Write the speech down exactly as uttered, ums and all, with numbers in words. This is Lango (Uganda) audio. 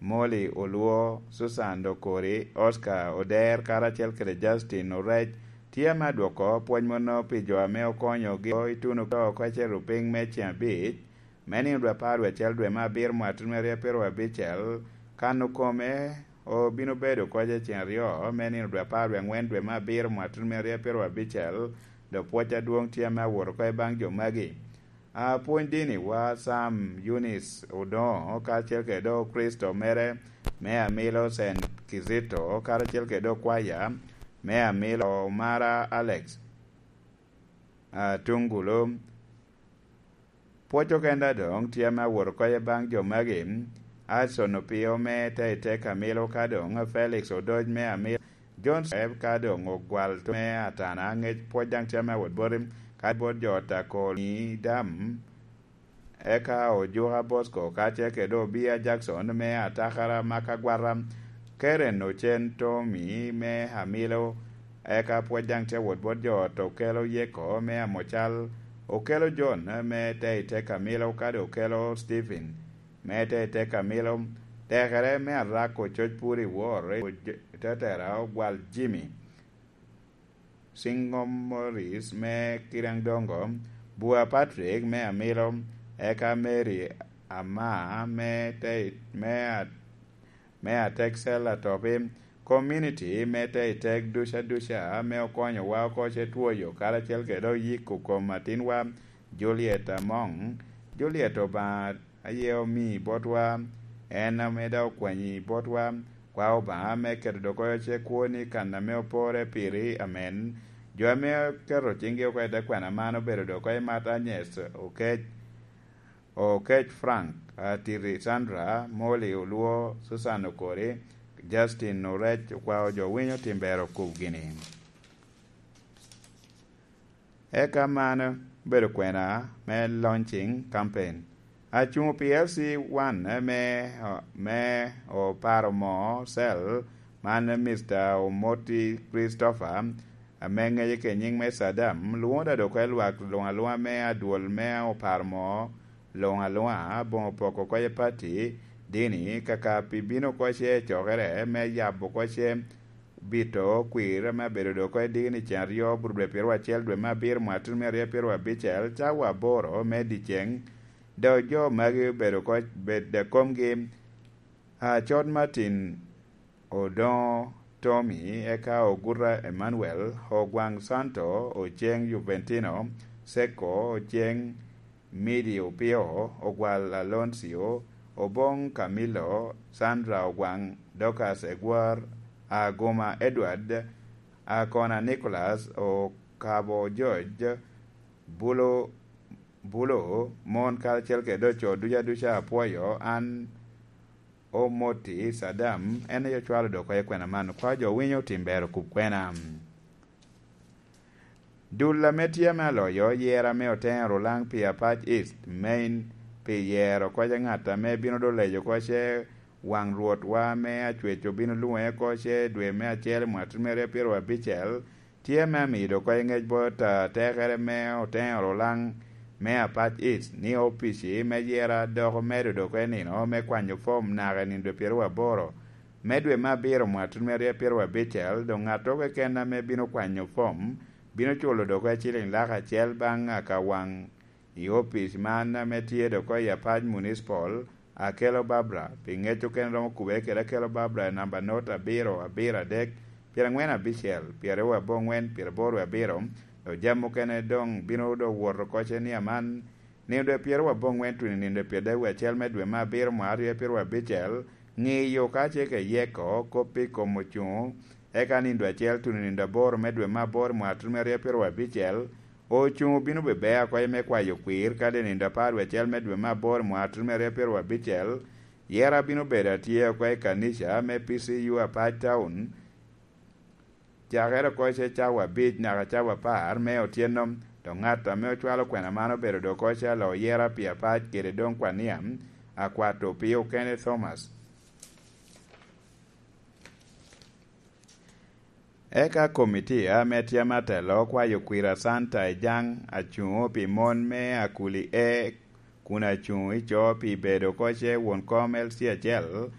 Molly Oluo, Susan Okori, Oscar Oder karacel kede Justin Orec tye ame adwoko pwoc mono pi jo ame okonyogi ituno oko acel rupiny me ceng abic me nino dwe apar dwe acel dwe me abiro mwaka tutumia aryo apiro abicel. Kano kome obino bedo koca ceng aryo me nino dwe apar dwe angwen dwe me abiro mwaka tutumia aryo apiro abicel. Dok pwoc adwoŋ tye ame awot oko i baŋ jo magi. Apwony dini wa Sam Yunis Odoŋo kacel kede dok Kricito mere me amilo Saint Kizito karacel kede dok kwaya me amilo Omara Alex Atungulu. Pwoc okenda doŋ tye ame awot oko i baŋ jo magi, Adson Opio me Teitei Kamilo ka doŋ Felix Odoc me Amilo, John Seb ka doŋ Ogwal me Atana, ŋec pwoc daŋ tye ame awot boti, ka bot jo Takol ni Dam, eka Ojuka Bosco kacel kede Obia Jackson me Atakara Makagwata, Karen Ocen Tommy me Amilo, eka pwoc daŋ tye awot bot jo ot Okelo Yeko me Amocal, Okelo John me Teitei Kamilo kadi Okelo Stephen me Teitei Kamilo, tekere me Arak Ococ Puri Wor, Tetera Ogwal Jimmy, Siŋom Morris me Kiraŋdongo, Bua Patrick me Amilo, eka Mary Ama me Tei-, me A-, me Ateksel Atopi, community me Teitek duca duca ame okonyowa oko ce twoyo karacel kede oyiko kom atinwa Juliet Amoŋ. Juliet Obaŋa aye omi botwa, en ame daŋ okwanyi botwa. Kwa Obaŋa me keto dok oyo ce kwo ni kan ame opore piri, amen. Jo ame oketo ciŋgi oko i te kwena man obedo dok oyo i mat Agnes Okec, Okec Frank, Atiri Sandra, Molly Oluo, Susan Okori, Justin Orec, okwao jo winyo tim ber okub gini. Eka man obedo kwena me launching campaign. Acuŋ pi L C one me, me oparo moo cell man Mister Omoti Christopher, ame ŋece ke nyiŋ me Saddam, lwoŋo da dok i lwak luŋ aluŋa me adwol me oparo moo luŋ aluŋa, boŋo poko oko i pati, dini, kaka pi bino oko ce i cokere me yabo oko ce bito kwir ame abedo dok oko i dini cen aryo bur dwe pyeraryo acel dwe me abiro mwaka tutumia aryo pyeraryo abicel, cawa aboro me dyeceŋ, dok jo magi obedo oko bed i komgi, Acot Martin Odoŋo Tommy, eka Oguta Emmanuel, Ogwaŋ Santo, Oceŋ Juventino, Seko, Oceŋ Midi Opio, Ogwal Aloncio, Oboŋ Camilo, Sandra Ogwaŋ, Dorcas Egwor, Aguma Edward, Akona Nicholas, Okabo George, Bulo, Bulo, mon karacel kede oco duca duca apwoyo, an Omoti Saddam, en aye ocwalo dok oko i kwena man, kwa jo winyo tim ber okub kwena. Dul ame tye ame aloyo yero ame Oteŋo Rulaŋ pi Apac East, Main, pi yero oko ce ŋat ame bino doŋ lejo oko ce waŋ Rwotwa ame Acwec obino lwoŋe oko ce dwe me acel i mwaka tutumia aryo pyeraryo abicel, tye ame amido oko i ŋec bot atekere me Oteŋo Rulaŋ me Apac East ni opici me yera dok omedo dok i nino me kwanyo fom naka i nino dwe pyeraryo aboro me dwe me abiro mwaka tutumia aryo pyeraryo abicel, doŋ ŋat keken ame bino kwanyo fom bino culo dok oko ciliŋ lak acel baŋ akawaŋ i opic man ame tye dok oko i Apac Municipal, Akelo Barbara, pi ŋec okene romo kubere kede Akelo Barbara i namba not abiro abiro adek, pyerangwen abicel, pyeraryo aboŋwen, pyeraboro abiro, dok jami mukene doŋ bino dok wot oko ce ni aman, nino dwe pyeraryo aboŋwen tuno i nino dwe pyeradek wie acel me dwe me abiro mwaka aryo pyeraryo abicel, ŋiyo ka ce ke yeko kop i kom ocuŋo, eka nino dwe acel tuno i nino dwe aboro me dwe me aboro mwaka tuno me aryo pyeraryo abicel, Ocuŋ obino bebea oko me kwayo kwir kadi i nino apar wie acel me dwe me aboro mwaka tutumia aryo pyeraryo abicel, yera bino bedo atye oko i kanica me P C U Apac Town, cakere oko ce cawa abic naka cawa apar me otyeno, dok ŋat ame ocwalo kwena man obedo dok oko ce alo yera pi Apac kede doŋ kwania, akwato pi okene Thomas. Eka komitia ame tye me atelo okwayo kwir Asanta i Jaŋ, acuŋo pi mon me Akuli E, kun acuŋo i co pi bedo oko ce won kom L C acel,